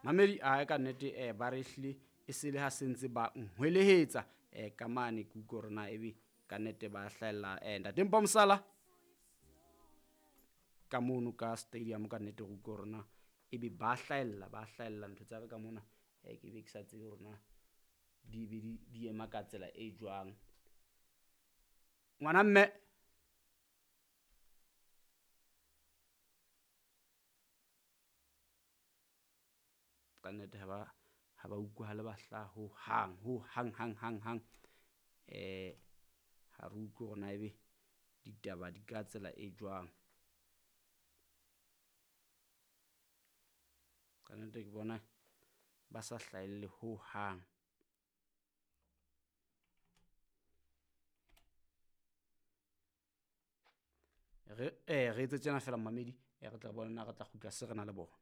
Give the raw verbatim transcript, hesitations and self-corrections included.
Mamedi a ka nnete eh ba re hlile e se le ha sentse ba nhwelehetsa eh ka mane ke utlwe hore na ebe ka nnete ba hlahella eh ntate Mpho Mosala ka mono ka stadium ka nnete re utlwe hore na ebe ba hlahella ba hlahella ntho tsa ka ka mona eh ke be ke sa tsebe hore na di be di di ema ka tsela e jwang. Ngwana mme ka nnete ha ba ha ba utlwahale ba hlaha ho hang ho hang hang hang hang eh ha re utlwe hore na ebe ditaba di ka tsela e jwang. Ka nnete ke bona ba sa hlahelle ho hang. Re eh re etse tjena feela mmamedi eh re tla bona na re tla kgutla se re na le bona.